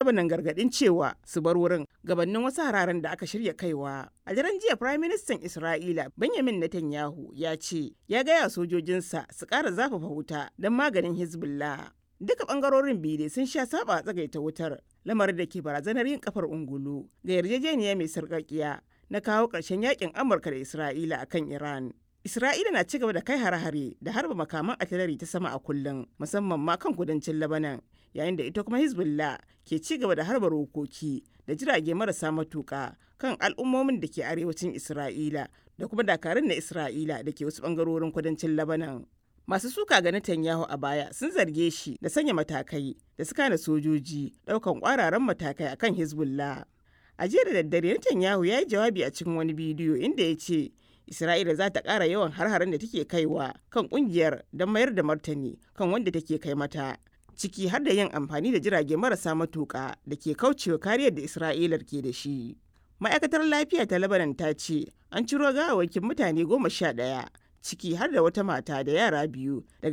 Lebanon gargadin cewa su bar wurin gabanin wasu hararen da aka shirya kaiwa. A daren jiya, Firaministan Isra'ila Benjamin Netanyahu ya ce ya gaya sojojinsa su ƙara zafafa wuta don maganin Hezbollah. Duka bangarorin biyu dai sun sha saba tsagaita wutar, lamarin da ke barazanar yin kafar ungulu ga yarjejeniya mai sarƙaƙiya na kawo ƙarshen yakin Amurka da Isra'ila akan Iran. Isra'ila na cigaba da kai hare-hare da harba makaman artillery ta sama a kullum, musamman ma kan kudancin Lebanon, yayin da ita kuma Hezbollah ke ci gaba da harba rokoki da jirage marasa matuƙa kan al'ummomin da ke arewacin Isra'ila da kuma dakarun na Isra'ila da ke wasu bangarorin kudancin Lebanon. Masu suka ga Netanyahu a baya sun zarge shi da sanya matakai da suka hana sojoji daukan kwararan matakai akan Hezbollah. A jiya da daddare, Netanyahu ya yi jawabi a cikin wani bidiyo inda ya ce Isra'ila za ta ƙara yawan har-haren da take kaiwa kan kungiyar don mayar da martani kan wanda take kai mata, ciki har da yin amfani da jirage marasa matuƙa da ke kaucewa kariyar da Isra'ilar ke da shi. Ma'aikatar lafiya ta Lebanon ta ce an ciro gawawwakin mutane 11, ciki har da wata mata da yara biyu, daga